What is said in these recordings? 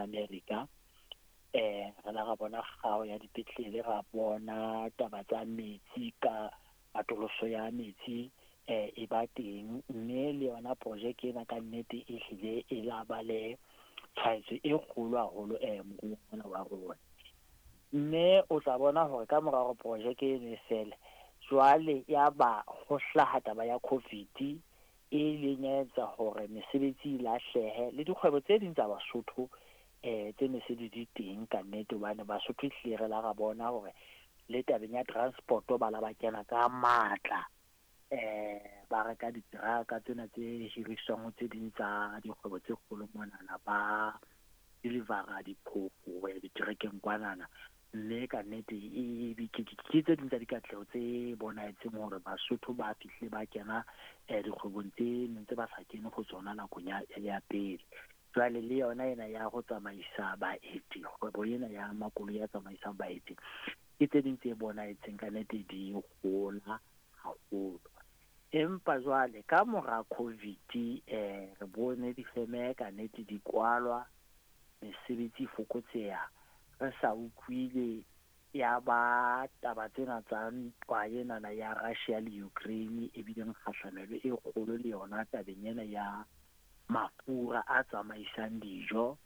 ya Amerika. Re la ra bona kgao ya dipetlele, ra bona taba tsa metsi ka atoloso ya metsi e ba teng, mme le yona projeke ena ka nnete e hlile e la ba le tshwaetso e kgolo haholo moruong ona wa rona. Mme o tla bona hore ka mora hore projeke eno e fele, jwale ya ba ho hlaha taba ya COVID e ileng ya etsa hore mesebetsi e lahlehe le dikgwebo tse ding tsa Basotho tse ne se di di teng ka nnete, hobane Basotho ehlile re la ra bona hore le tabeng ya transport-o ba la ba kena ka matla, ba reka diteraka tsena tse hiriswang ho tse ding tsa dikgwebo tse kgolo monana, ba deliver-a diphofo ho ya diterekeng kwanana. Mme ka nnete ke tse ding tsa dikatleho tse bonahetseng hore Basotho ba fihlile ba kena dikgwebong tse neng tse ba sa kene ho tsona nakong ya pele. Jwale le yona ena ya ho tsamaisa baeti, kgwebo ena ya makoloi a tsamaisang baeti, ke tse ding tse bonahetseng ka nnete di hola haholo. Empa jwale ka mora COVID re bone difeme ka nnete di kwalwa, mesebetsi e fokotseha, re sa utlwile ya ba taba tsena tsa ntwa enana ya Russia le Ukraine e bileng kgahlamelo e kgolo le yona tabeng ena ya mafura a tsamaisang dijo.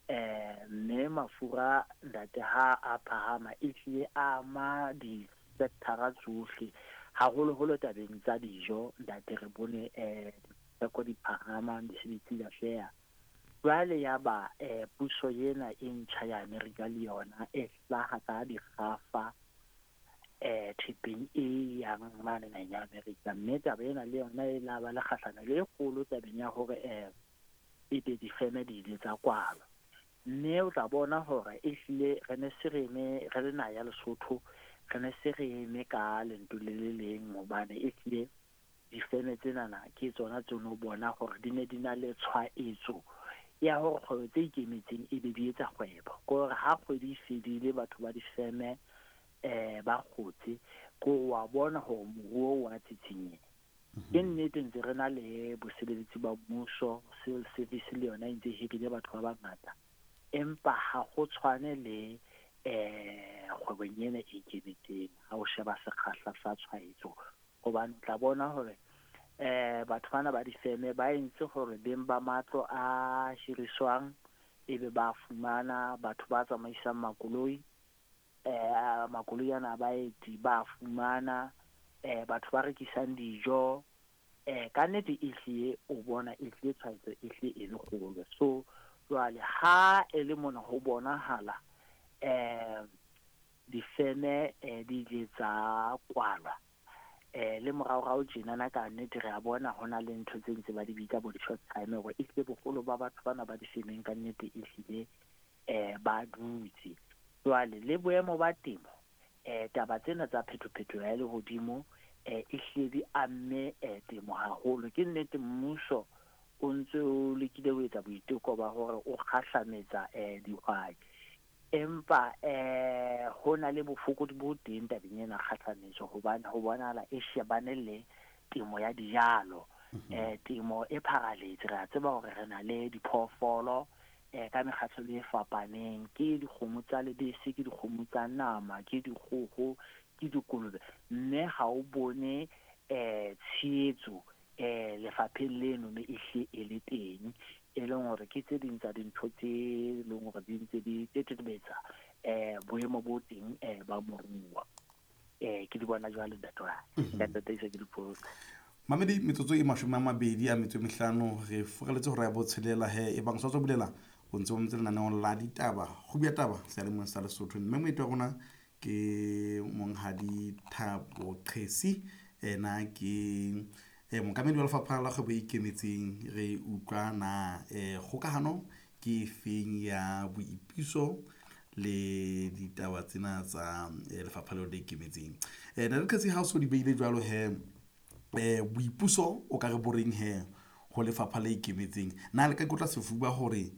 Mme mafura ntate ha a phahama e hlile a ama di-sector-a tsohle, haholoholo tabeng tsa dijo ntate. Re bone ditheko di phahama, mesebetsi e lahleha. Jwale ya ba puso ena e ntjha ya Amerika le yona e hlaha ka dikgafa thepeng e yang mane naheng ya Amerika, mme taba ena le yona e la ba le kgahlamelo e kgolo tabeng ya hore ebe difeme di ile tsa kwalwa. Mme o tla bona hore ehlile re ne se re eme re le naha ya Lesotho, re ne se re eme ka lentswe le le leng, hobane ehlile difeme tsenana ke tsona tse no bona hore di ne di na le tshwaetso ya hore kgwebo tse ikemetseng ebe di etsa kgwebo. Ke hore ha kgwedi e fedile batho ba difeme ba kgotse, ko wa bona hore moruo wa tsitsinyeha. Ke nnete ntse re na le bosebeletsi ba mmuso, civil service le yona e ntse e hirile batho ba bangata, empa ha ho tshwane le kgwebong ena e ikemetseng ha o sheba sekgahla sa tshwaetso. Hobane o tla bona hore batho bana ba difeme ba entse hore beng ba matlo a hiriswang ebe ba fumana batho ba tsamaisang makoloi, makoloi ana a baeti ba fumana, batho ba rekisang dijo, ka nnete ehlile o bona ehlile tshwaetso ehlile e le kgolo. So jwale ha e le mona ho bonahala difeme di ile tsa kwalwa, le moraorao tjenana ka nnete re a bona ho na le ntho tse ntse ba di bitsa bo di-short time, hore ehlile boholo ba batho bana ba difemeng ka nnete ehlile ba dutse. Jwale le boemo ba temo, taba tsena tsa phetophetoho ya lehodimo ehlile di amme temo haholo. Ke nnete mmuso o ntse o lekile ho etsa boiteko ba hore o kgahlametsa dihwai, empa ho na le bofokodi bo teng tabeng ena kgahlametso, hobane ho bonahala e shebane le temo ya dijalo. Temo e pharaletse, re a tseba hore re na le diphoofolo ka mekgahlelo e fapaneng, ke dikgomo tsa lebese, ke dikgomo tsa nama, ke dikgoho, ke dikolobe, mme ha o bone tshehetso lefapheng leno mme ehlile e le teng, e leng hore ke tse ding tsa dintho tse leng hore di ntse di tetebetsa boemo bo teng ba moruo. Ke di bona jwalo ntate wa ka, tataisa ke dipotso. Mamedi, metsotso e 25 re furaletse hora ya botshelela he. E bang sa tswa bulela, o ntse o ntse lenaneong la ditaba, kgubu ya taba seyalemoyeng sa Lesotho, mme moeti wa rona ke monghadi Thabo Qhesi, ena ke mookamedi wa lefapha la kgwebo e ikemetseng. Re utlwa na kgokahano ke efeng ya boipuso le ditaba tsena tsa lefapha leo le ikemetseng. Ntate Qhesi, ha o so di beile jwalo he, boipuso o ka re boreng he ho lefapha le ikemetseng, na le ka ikotla sefuba hore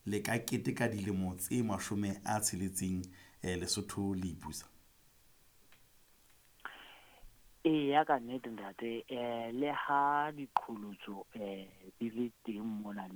le ka keteka dilemo tse 60 Lesotho le ipusa? Eya, ka nnete ntate, le ha diqholotso di le teng mona le